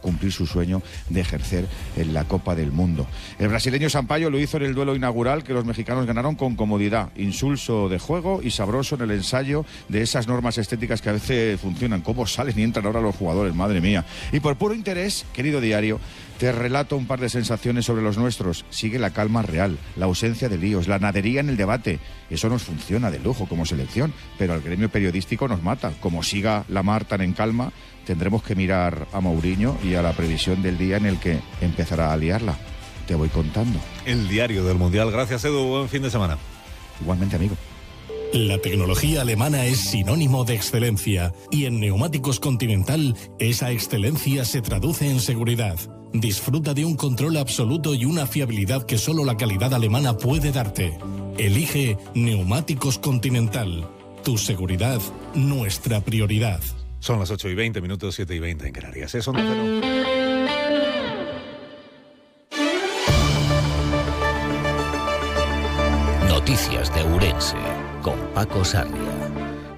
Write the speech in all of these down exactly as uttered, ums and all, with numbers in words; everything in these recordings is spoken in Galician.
cumplir su sueño de ejercer en la Copa del Mundo. El brasileño Sampaio lo hizo en el duelo inaugural que los mexicanos ganaron con comodidad, insulso de juego y sabroso en el ensayo de esas normas estéticas que a veces funcionan. ¿Cómo salen y entran ahora los jugadores? Madre mía. Y por puro interés, querido diario, te relato un par de sensaciones sobre los nuestros. Sigue la calma real, la ausencia de líos, la nadería en el debate. Eso nos funciona de lujo como selección, pero al gremio periodístico nos mata. Como siga la mar tan en calma, tendremos que mirar a Mourinho y a la previsión del día en el que empezará a liarla. Te voy contando. El diario del Mundial. Gracias, Edu. Buen fin de semana. Igualmente, amigo. La tecnología alemana es sinónimo de excelencia y en Neumáticos Continental esa excelencia se traduce en seguridad. Disfruta de un control absoluto y una fiabilidad que solo la calidad alemana puede darte. Elige Neumáticos Continental. Tu seguridad, nuestra prioridad. Son las ocho y veinte minutos, siete y veinte en Canarias. Eso no cero. Noticias de Ourense, con Paco Sarria.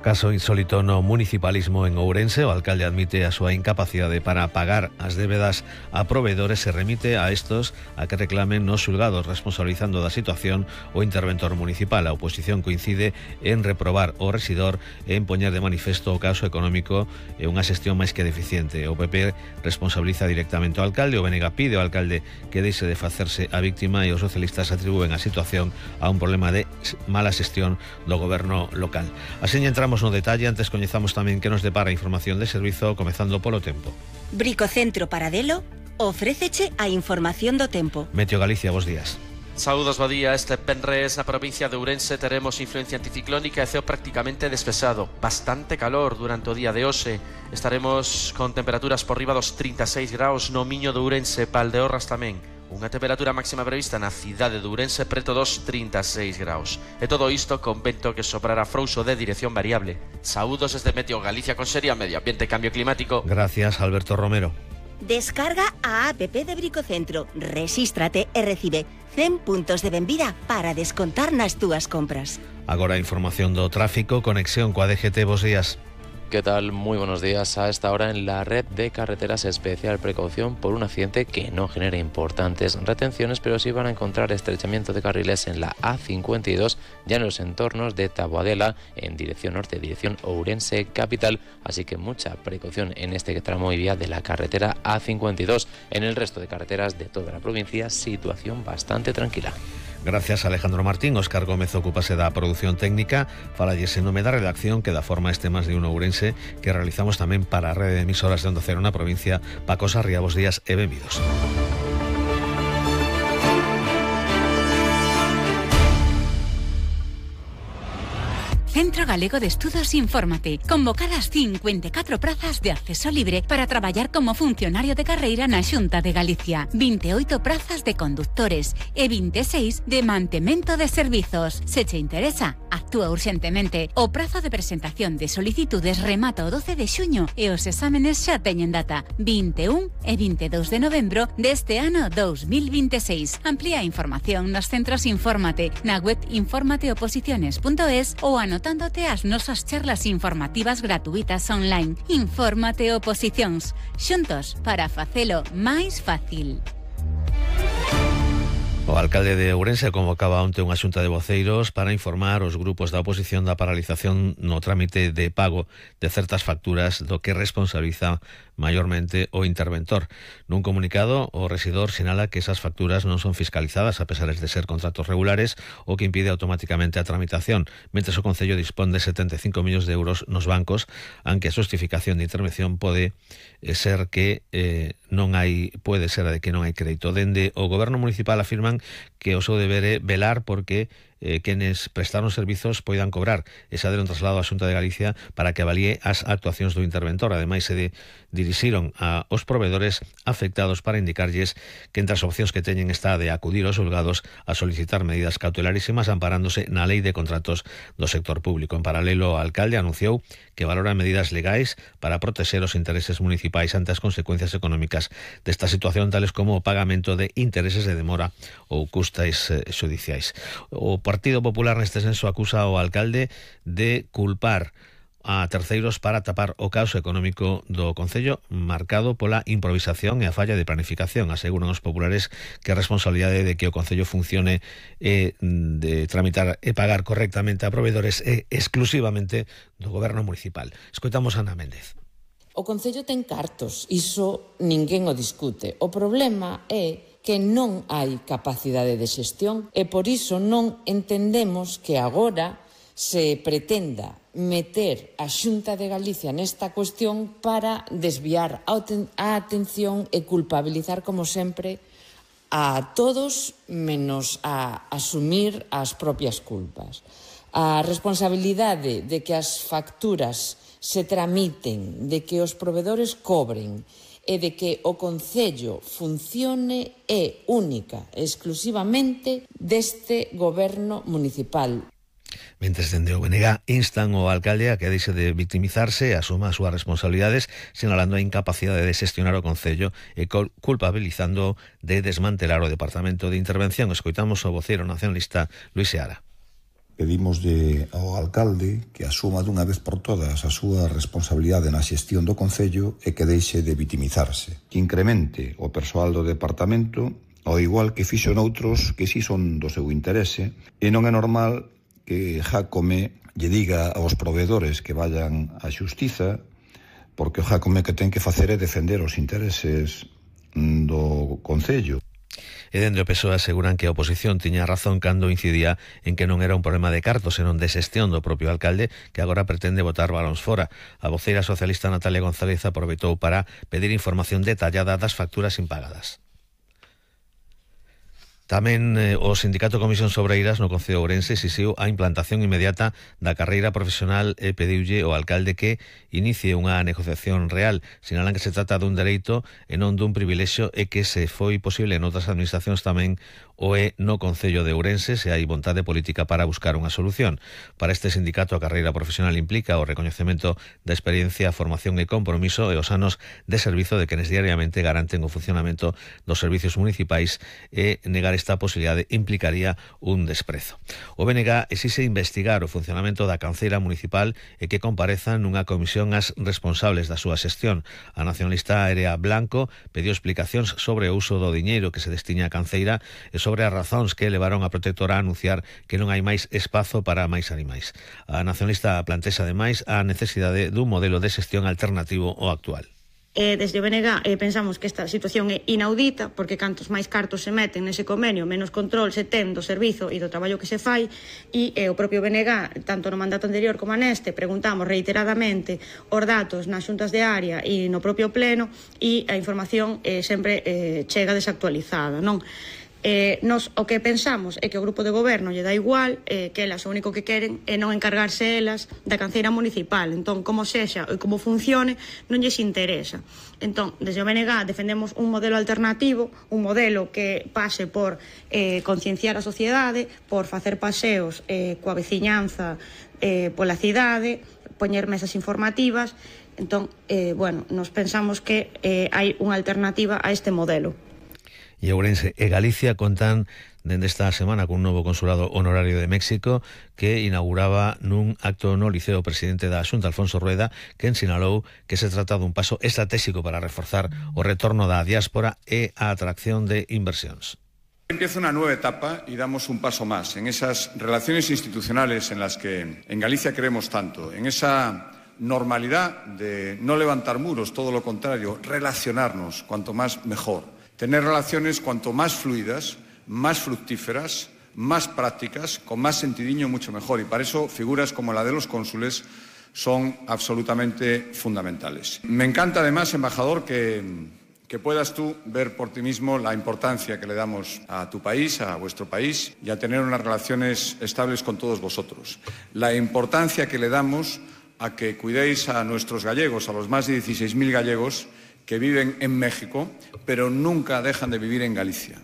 Caso insólito no municipalismo en Ourense. O alcalde admite a súa incapacidade para pagar as débedas a proveedores. Se remite a estos a que reclamen nos xulgados, responsabilizando da situación o interventor municipal. A oposición coincide en reprobar o rexidor e en poñer de manifesto o caso económico e unha xestión máis que deficiente. O P P responsabiliza directamente ao alcalde. O B N G pide ao alcalde que deixe de facerse a víctima e os socialistas atribúen a situación a un problema de mala xestión do goberno local. Así entramos no detalle, antes coñezamos tamén que nos depara a información de servizo, comezando polo tempo. Bricocentro Paradelo ofréceche a información do tempo. Meteo Galicia, bos días. Saúdos, bo día. Este venres na provincia de Ourense teremos influencia anticiclónica e ceo prácticamente despexado. Bastante calor durante o día de hoxe. Estaremos con temperaturas por riba dos trinta e seis graus no Miño de Ourense, Valdeorras tamén. Unha temperatura máxima prevista na cidade de Ourense preto dos trinta e seis graus. E todo isto con vento que soprará frouxo de dirección variable. Saúdos desde Meteo Galicia con Seria Medio Ambiente e Cambio Climático. Gracias, Alberto Romero. Descarga a app de Bricocentro, rexístrate e recibe cen puntos de benvida para descontar nas túas compras. Agora a información do tráfico, conexión coa D G T, bos días. ¿Qué tal? Muy buenos días. A esta hora en la red de carreteras, especial precaución por un accidente que no genera importantes retenciones, pero sí van a encontrar estrechamiento de carriles en la A cincuenta y dos, ya en los entornos de Taboadela, en dirección norte, dirección Ourense capital, así que mucha precaución en este tramo y vía de la carretera A cincuenta y dos. En el resto de carreteras de toda la provincia, situación bastante tranquila. Gracias, Alejandro Martín. Óscar Gómez ocúpase da produción técnica. Falalles en nome da redacción que dá forma a este Más de Uno Ourense, que realizamos tamén para a rede de emisoras de Onda Cero na provincia. Paco Sarria, bos días e benvidos. Centro Galego de Estudos Infórmate. Convocadas cincuenta e catro prazas de acceso libre para traballar como funcionario de carreira na Xunta de Galicia. vinte e oito prazas de conductores e vinte e seis de mantemento de servizos. Se che interesa, actúa urxentemente. O prazo de presentación de solicitudes remata o doce de xuño e os exámenes xa teñen data. vinte e un e vinte e dous de novembro deste ano dous mil vinte e seis. Amplía a información nos centros Infórmate na web informateoposiciones punto es ou anotándote as nosas charlas informativas gratuitas online. Infórmate Oposicións, xuntos para facelo máis fácil. O alcalde de Ourense convocaba onte unha xunta de voceiros para informar os grupos da oposición da paralización no trámite de pago de certas facturas do que responsabiliza maiormente o interventor. Nun comunicado, o rexidor sinala que esas facturas non son fiscalizadas a pesar de ser contratos regulares, o que impide automáticamente a tramitación, mentres o Concello dispón de setenta e cinco millóns de euros nos bancos, aunque a xustificación de intervención pode ser que eh, non hai pode ser de que non hai crédito. Dende o goberno municipal afirman que o seu deber é velar porque eh, quenes prestaron servizos poidan cobrar. Esa deron traslado á Xunta de Galicia para que avalíe as actuacións do interventor. Ademais, se de, dirixiron a os proveedores afectados para indicarlles que entre as opcións que teñen está de acudir aos xulgados a solicitar medidas cautelarísimas amparándose na Lei de Contratos do Sector Público. En paralelo, o alcalde anunciou que valora medidas legais para protexer os intereses municipais ante as consecuencias económicas desta situación, tales como o pagamento de intereses de demora ou custas eh, xudiciais. O Partido Popular neste senso acusa ao alcalde de culpar a terceiros para tapar o caos económico do Concello marcado pola improvisación e a falla de planificación. Aseguran os populares que a responsabilidade de que o Concello funcione e de tramitar e pagar correctamente a proveedores é exclusivamente do Goberno municipal. Escoitamos a Ana Méndez. O Concello ten cartos, iso ninguén o discute. O problema é que non hai capacidade de xestión e por iso non entendemos que agora se pretenda meter a Xunta de Galicia nesta cuestión para desviar a atención e culpabilizar, como sempre, a todos menos a asumir as propias culpas. A responsabilidade de que as facturas se tramiten, de que os provedores cobren e de que o Concello funcione é única, exclusivamente deste Goberno municipal. Mentres dende o B N G instan o alcalde a que deixe de victimizarse e asuma as súas responsabilidades, sinalando a incapacidade de xestionar o Concello e culpabilizando de desmantelar o Departamento de Intervención. Escoitamos o voceiro nacionalista Luis Seara. Pedimos de, ao alcalde que asuma dunha vez por todas a súa responsabilidade na xestión do Concello e que deixe de vitimizarse. Que incremente o persoal do departamento, ao igual que fixo noutros que si son do seu interese, e non é normal que Jácome lle diga aos proveedores que vayan á xustiza, porque o Jácome que ten que facer é defender os intereses do Concello. E dende o P S O E aseguran que a oposición tiña razón cando incidía en que non era un problema de cartos, senón de xestión do propio alcalde, que agora pretende botar balóns fora. A voceira socialista Natalia González aproveitou para pedir información detallada das facturas impagadas. Tamén eh, o Sindicato Comisións Obreiras no Concello de Ourense exixiu a implantación inmediata da carreira profesional e pediulle ao alcalde que inicie unha negociación real. Sinalan que se trata dun dereito e non dun privilexio e que se foi posible en outras administracións tamén o é no Concello de Ourense se hai vontade política para buscar unha solución. Para este sindicato a carreira profesional implica o recoñecemento da experiencia, formación e compromiso e os anos de servizo de quenes diariamente garanten o funcionamento dos servicios municipais e negar esta posibilidade implicaría un desprezo. O B N G exixe investigar o funcionamento da canceira municipal e que comparezan nunha comisión as responsables da súa xestión. A nacionalista Aérea Blanco pediu explicacións sobre o uso do diñeiro que se destiña á canceira e sobre as razóns que levaron a protectora a anunciar que non hai máis espazo para máis animais. A nacionalista plantexa ademais a necesidade dun modelo de xestión alternativo ao actual. Eh, desde o B N G eh, pensamos que esta situación é inaudita, porque cantos máis cartos se meten nese convenio, menos control se ten do servizo e do traballo que se fai, e eh, o propio B N G, tanto no mandato anterior como neste, preguntamos reiteradamente os datos nas xuntas de área e no propio pleno, e a información eh, sempre eh, chega desactualizada, non? Eh, nos o que pensamos é que o grupo de goberno lle dá igual, eh, que elas o único que queren é non encargarse elas da canceira municipal. Entón, como sexa e como funcione, non lles interesa. Entón, desde o B N G defendemos un modelo alternativo, un modelo que pase por eh, concienciar a sociedade, por facer paseos eh, coa veciñanza eh, pola cidade, poñer mesas informativas. Entón, eh, bueno, nos pensamos que eh, hai unha alternativa a este modelo. E Ourense e Galicia contan dende esta semana con un novo consulado honorario de México que inauguraba nun acto no Liceo o presidente da Xunta, Alfonso Rueda, que ensinalou que se trata dun paso estratégico para reforzar o retorno da diáspora e a atracción de inversións. Empieza una nueva etapa y damos un paso más en esas relaciones institucionales en las que en Galicia creemos tanto, en esa normalidad de no levantar muros, todo lo contrario, relacionarnos, cuanto más mejor. Tener relaciones cuanto más fluidas, más fructíferas, más prácticas, con más sentidiño, mucho mejor. Y para eso figuras como la de los cónsules son absolutamente fundamentales. Me encanta además, embajador, que, que puedas tú ver por ti mismo la importancia que le damos a tu país, a vuestro país, y a tener unas relaciones estables con todos vosotros. La importancia que le damos a que cuidéis a nuestros gallegos, a los más de dieciséis mil gallegos, que viven en México, pero nunca dejan de vivir en Galicia.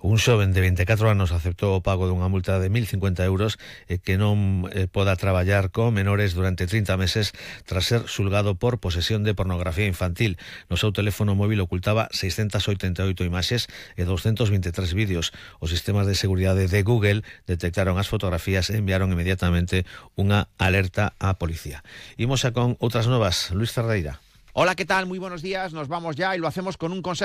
Un xoven de veinticuatro anos aceptou o pago dunha multa de mil cincuenta euros e que non eh, poda traballar con menores durante trinta meses tras ser xulgado por posesión de pornografía infantil. No seu teléfono móvil ocultaba seiscentas oitenta e oito imaxes e doscientos veintitrés vídeos. Os sistemas de seguridade de Google detectaron as fotografías e enviaron inmediatamente unha alerta á policía. Imos xa con outras novas. Luis Ferreira. Hola, ¿qué tal? Muy buenos días. Nos vamos ya y lo hacemos con un consejo.